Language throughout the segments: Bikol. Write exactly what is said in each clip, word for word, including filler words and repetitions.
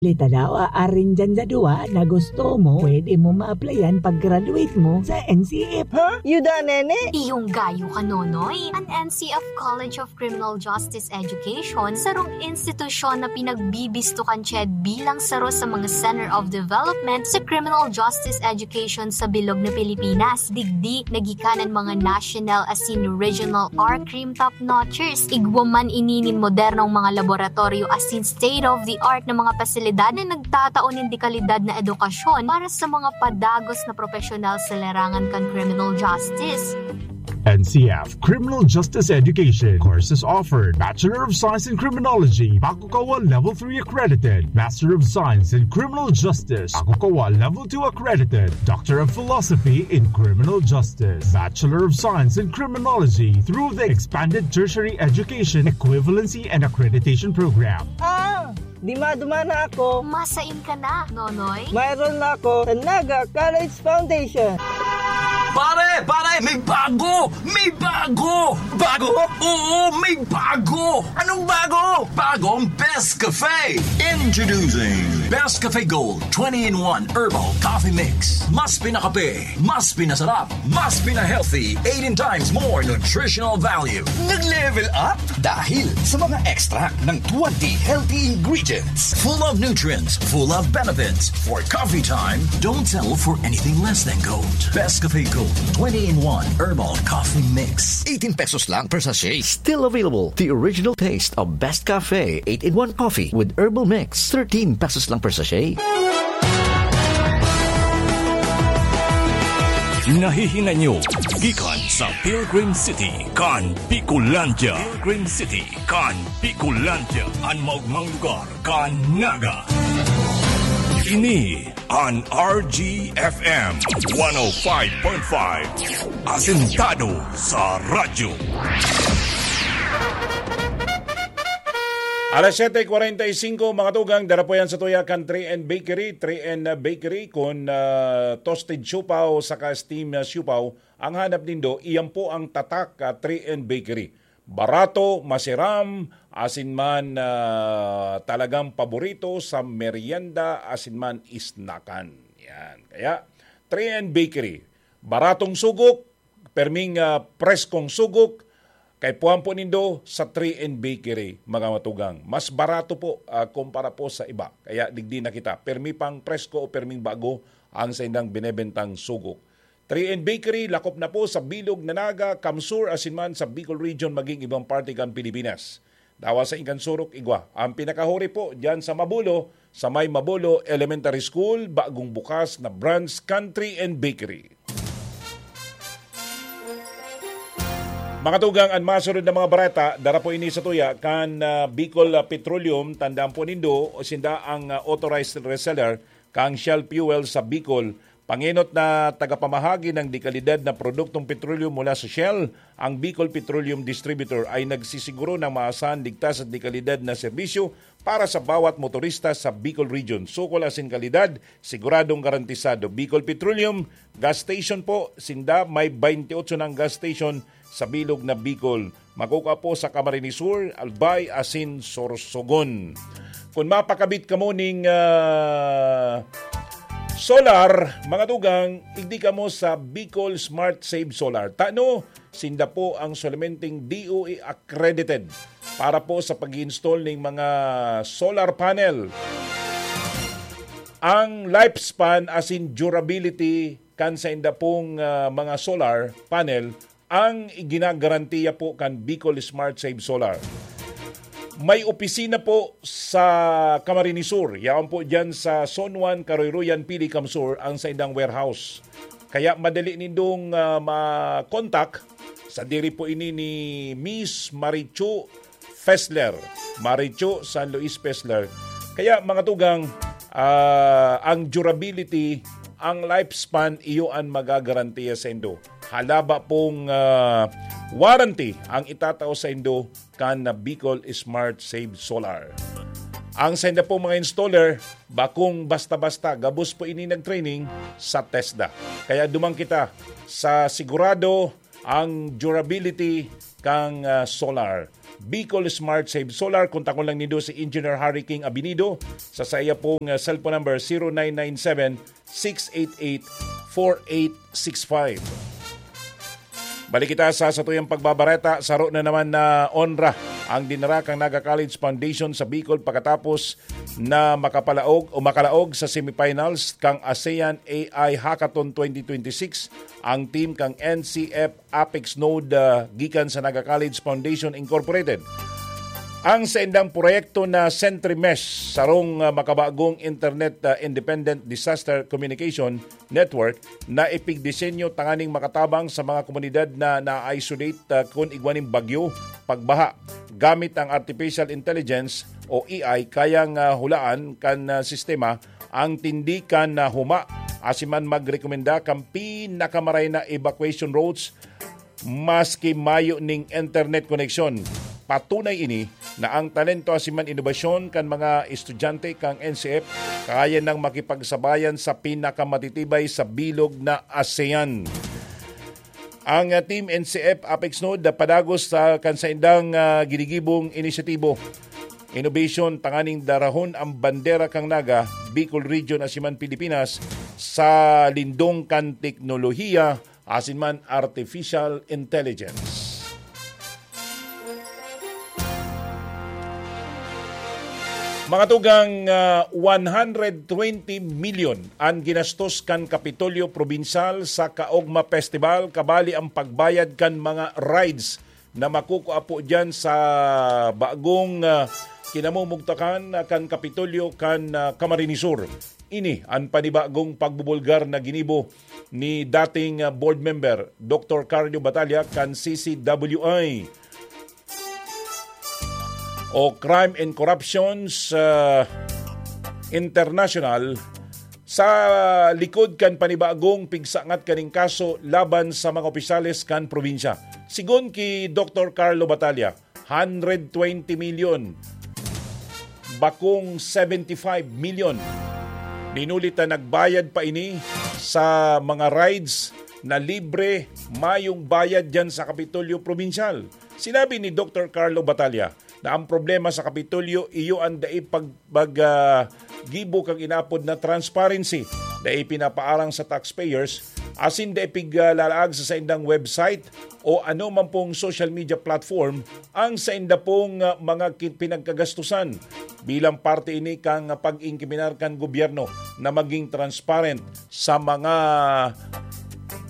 Litadawa arin dyan sa duwa na gusto mo, pwede mo ma-applyan pag-graduate mo sa N C F. Ha? Yuda, nene? Iyong gayo ka, Nonoy. An N C F College of Criminal Justice Education, sarong institusyon na pinagbibisto kan CHED bilang saro sa mga Center of Development sa Criminal Justice Education sa bilog na Pilipinas. Digdi, nagikanan mga national asin regional R-Crim top notchers. Igwa man ini nin modernong mga laboratoryo asin state-of-the-art na mga pasilidad na nagtatao nin dekalidad na edukasyon para sa mga padagos na propesyonal sa larangan kan criminal justice. N C F Criminal Justice Education. Courses offered: Bachelor of Science in Criminology, Bakukawa Level three accredited; Master of Science in Criminal Justice, Bakukawa Level two accredited; Doctor of Philosophy in Criminal Justice, Bachelor of Science in Criminology through the Expanded Tertiary Education Equivalency and Accreditation Program. Ah, di maduma na ako. Masain ka na, Nonoy. Mayroon na ako sa Naga College Foundation. Pare, pare, may bago! May bago! Bago? Oo, may bago! Anong bago? Bagong Best Cafe! Introducing Best Cafe Gold twenty-in-one Herbal Coffee Mix. Mas pinakape, mas pinasarap, mas pina-healthy, eighteen times more nutritional value. Nag-level up dahil sa mga extract ng twenty healthy ingredients. Full of nutrients, full of benefits. For coffee time, don't settle for anything less than gold. Best Cafe Gold twenty-in-one Herbal Coffee Mix. Eighteen pesos lang per sachet. Still available, the original taste of Best Cafe eight-in-one coffee with herbal mix. Thirteen pesos lang per sachet. Nahihinay nyo gikan sa Pilgrim City kan Bicolandia. Pilgrim City kan Bicolandia, an maogmang lugar kan Naga. Ini an R G F M one oh five point five, asentado sa radyo. Alas siyete kwarenta y singko, mga tugang, dara po yan sa tuya kan three N Bakery. Three N Bakery, kun, ah, toasted siopao saka steam, ah, siopao ang hanap nindo, iyan po ang tatak, ah, three N Bakery. Barato, masiram, asin man, ah, talagang paborito sa merienda, asin man isnakan. Yan. Kaya, three N Bakery. Baratong sugok, perming, ah, preskong sugok, kaipuhan po nindo sa three N Bakery, mga matugang. Mas barato po, ah, kumpara po sa iba. Kaya digdi na kita. Permi pang presko o perming bago ang saindang binebentang sugok. Three N Bakery, lakop na po sa bilog na Naga, Kamsur, asin man sa Bicol Region, maging ibang parte kan Pilipinas. Dawa sa ingkan surok, igwa. Ang pinakahuri po, dyan sa Mabulo, sa may Mabulo Elementary School, bagong bukas na branch, Country and Bakery. Mga tugang, an masunod na mga bareta, dara po ini sa tuya, kan, ah, Bicol, ah, Petroleum, tandaan po nindo, sinda ang, ah, authorized reseller, kang Shell Fuel sa Bicol, pangenot na tagapamahagi ng dekalidad na produktong petrolyo mula sa Shell, ang Bicol Petroleum Distributor ay nagsisiguro ng maasahan, ligtas at dekalidad na serbisyo para sa bawat motorista sa Bicol Region. Sukol asin kalidad, siguradong garantisado. Bicol Petroleum, gas station po, sinda may twenty-eight nang gas station sa bilog na Bicol. Makukua po sa Camarines Sur, Albay, asin Sorsogon. Kun mapakabit kamo ning, ah, solar, mga tugang, igdi kamo sa Bicol Smart Save Solar. Tano, sinda po ang solamenteng D O E accredited para po sa pag-install ning mga solar panel. Ang lifespan asin durability kan sainda pong, ah, mga solar panel ang iginagarantiya po kan Bicol Smart Save Solar. May opisina po sa Camarines Sur, yaon po dyan sa Zone one, Karoyroyan, Pili, Kamsur, ang saindang warehouse. Kaya madali nindong, ah, ma-contact. Sadiri po ini ni Miss Marichu Fessler. Marichu San Luis Fessler. Kaya, mga tugang, ah, ang durability, ang lifespan, iyo an magagarantiya saindo. Halaba pong, ah, warranty ang itatao saindo kan na Bicol Smart Save Solar. Ang sainda pong mga installer, bakong basta-basta, gabos po ini nag-training sa TESDA. Kaya duman kita sa sigurado ang durability kan, ah, solar. Bicol Smart Save Solar, kontakon lang nindo si Engineer Harry King Abinido sa saiya pong, ah, cellphone number, zero nine nine seven, six eight eight, four eight six five. Balik kita sa satuyang pagbabareta. Saro na naman na onra ang dinara kan Naga College Foundation sa Bicol pakatapos na makapalaog o makalaog sa semifinals kan ASEAN A I Hackathon twenty twenty-six ang team kan N C F Apex Node, ah, gikan sa Naga College Foundation Incorporated. Ang saindang proyekto na SentryMesh, sarong, ah, makabagong internet, ah, independent disaster communication network na ipigdisenyo tanganing makatabang sa mga komunidad na na-isolate, ah, kun igwa nin bagyo, pagbaha. Gamit ang artificial intelligence o A I, kayang, ah, hulaan kan, ah, sistema ang tindi kan, ah, huma, asin man magrekomenda kan pinakamaray na evacuation routes maski mayo ning internet koneksyon. Patunay ini na ang talento asin man inobasyon kan mga estudyante kan N C F kaya nang makipagsabayan sa pinakamatitibay sa bilog na ASEAN. Ang, ah, Team N C F Apex Node na padagos sa kan saindang, ah, ginigibong inisyatibo, innovation, tanganing darahon ang bandera kan Naga, Bicol Region asin man Pilipinas sa lindong kan teknolohiya asin man artificial intelligence. Mga tugang, ah, one hundred twenty million an ginastos kan Kapitolyo Probinsyal sa Kaogma Festival, kabali ang pagbayad kan mga rides na makukua po diyan sa bagong, ah, kinamumugtakan, ah, kan Kapitolyo kan, ah, Camarines Sur. Ini an panibagong pagbubulgar na ginibo ni dating, ah, board member Doktor Carlo Batalla kan C C W I o Crime and Corruptions, ah, International sa likod kan panibagong pigsangat kaning kaso laban sa mga opisyales kan probinsya. Sigon ki Doktor Carlo Batalla, hundred twenty million, bakong seventy-five million. Dinulit na nagbayad pa ini sa mga rides na libre, mayong bayad diyan sa Kapitolyo Probinsyal. Sinabi ni Doktor Carlo Batalla na ang problema sa Kapitolyo iyo an dai pag-, pag, ah, gibo kan inaapod na transparency, dai pinapaarang sa taxpayers, asin dai piglalaag sa saindang website o ano man pong social media platform ang sainda pong, ah, mga ki-, pinagkagastusan. Bilang parte ini kan pag-ingkiminar kan gobyerno na maging transparent sa mga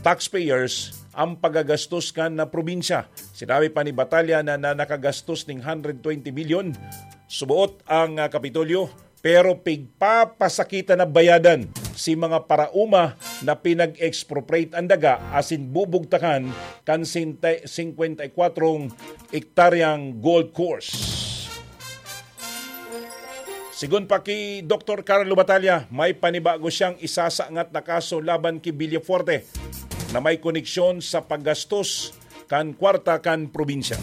taxpayers ang pagagastos kan na probinsya. Sinabi pa ni Batalla na, na nakagastos ning hundred twenty million suboot ang, ah, Kapitolyo, pero pigpapasakitan na bayadan si mga paraoma na pinag-expropriate an daga asin bubugtakan kan sinte-, singkwenta y kwatro hektaryang golf course. Sigon pa ki Doktor Carlo Batalla, may panibago siyang isasangat na kaso laban ki Villafuerte na may koneksyon sa paggastos kan kwarta kan probinsya.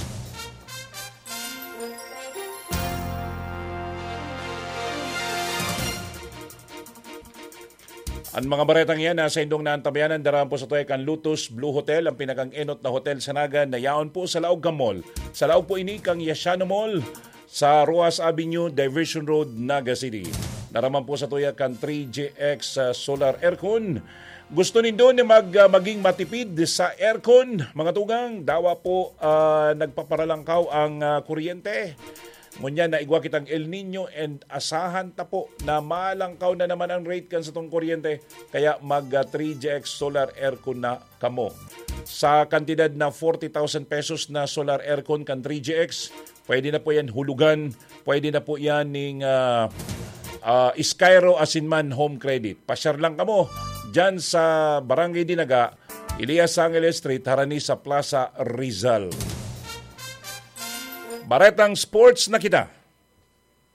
An mga baretang iyan na saindong naantabayanan, darahan po sa tuya kan Lotus Blue Hotel, ang pinakang-enot na hotel sa Naga na yaon po sa laog kan mall. Sa laog po ini kan Yashano Mall, sa Roxas Avenue, Diversion Road, Naga City. Darahan po sa tuya kan three G X, ah, Solar Aircon. Gusto nindo na mag-, ah, maging matipid sa aircon, mga tugang? Dawa po, ah, nagpaparalangkaw ang, ah, kuryente. Ngunyan na igwa kitang El Nino and asahan ta po na malangkaw na naman ang rate kan satong kuryente. Kaya mag, ah, three G X Solar Aircon na kamo. Sa kantidad na forty thousand pesos na solar aircon kan three G X, pwede na po yan hulugan, pwede na po yan ning, ah, ah, Skyro asin man Home Credit. Pasyar lang kamo dyan sa Barangay Dinaga, Elias Angeles Street, harani sa Plaza Rizal. Baretang sports na kita.